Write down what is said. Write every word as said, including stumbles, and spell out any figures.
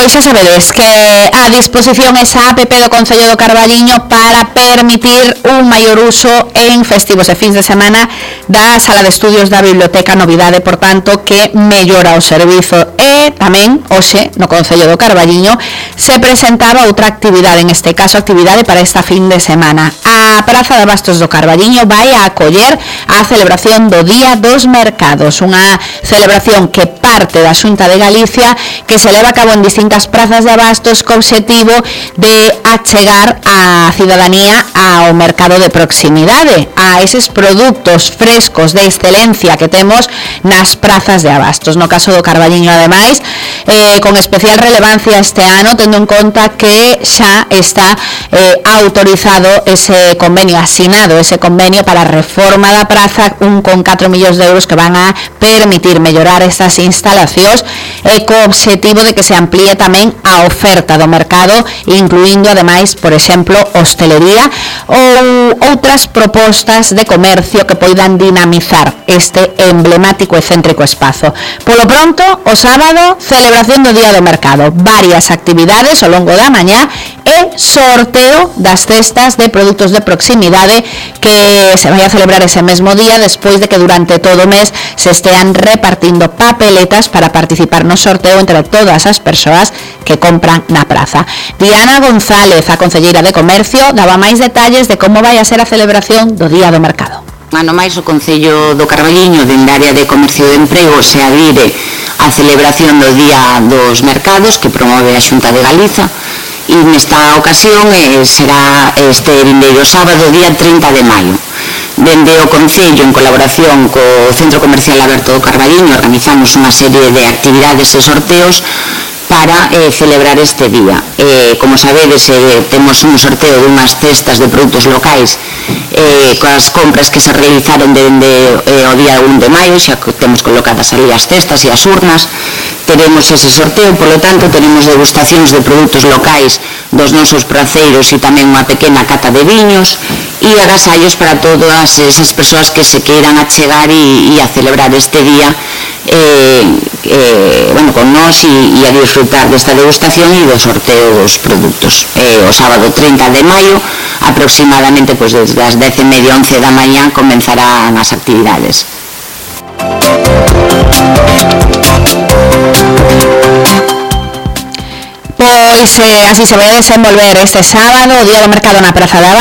Pois xa sabedes que a disposición esa app do Concello do Carballiño para permitir un maior uso en festivos e fins de semana da sala de estudios da biblioteca, novidade, por tanto, que mellora o servizo. E tamén, hoxe, no Concello do Carballiño, se presentaba outra actividade, en este caso, actividade para esta fin de semana. A Praza de Abastos do Carballiño vai a acoller a celebración do Día dos Mercados, unha celebración que parte da Xunta de Galicia, que se leva a cabo en distintas prazas de abastos co obxectivo de achegar a cidadanía ao mercado de proximidade, a eses produtos frescos de excelencia que temos nas prazas de abastos. No caso do Carballiño, ademais, eh, con especial relevancia este ano, tendo en conta que xa está eh, autorizado ese convenio, asinado ese convenio para a reforma da praza, un con catro millóns de euros que van a permitir mellorar estas instalacións e co obxectivo de que se amplíe tamén a oferta do mercado, incluindo ademais, por exemplo, hostelería ou outras propostas de comercio que poidan dinamizar este emblemático e céntrico espazo. Polo pronto, o sábado, celebración do Día do Mercado, varias actividades ao longo da mañá e sorteo das cestas de produtos de proximidade que se vai a celebrar ese mesmo día, despois de que durante todo o mes se estean repartindo papeletas para participar no sorteo entre todas as persoas que compran na praza. Diana González, a concelleira de Comercio, daba máis detalles de como vai a ser a celebración do Día do Mercado. Ano máis, o Concello do Carballiño, dende a área de Comercio e de Emprego, se adhire á celebración do Día dos Mercados que promove a Xunta de Galiza, e nesta ocasión eh, será este vindeiro sábado, día trinta de maio. Dende o Concello, en colaboración co Centro Comercial Aberto do Carballiño, organizamos unha serie de actividades e sorteos para eh, celebrar este día. Eh, como sabedes, eh, temos un sorteo dunhas cestas de produtos locais eh, coas compras que se realizaron dende eh, o día un de maio, xa temos colocadas ali as cestas e as urnas. Teremos ese sorteo, polo tanto, tenemos degustacións de produtos locais dos nosos praceiros e tamén unha pequena cata de viños e agasallos para todas esas persoas que se queiran achegar e, e a celebrar este día eh, eh, bueno, con nós e, e a disfrutar desta degustación e do sorteo dos produtos. Eh, o sábado trinta de maio, aproximadamente pues, desde as dez e media, once da mañá, comenzarán as actividades. Pois eh, así se vai a desenvolver este sábado o Día do Mercado na Praza de Abastos.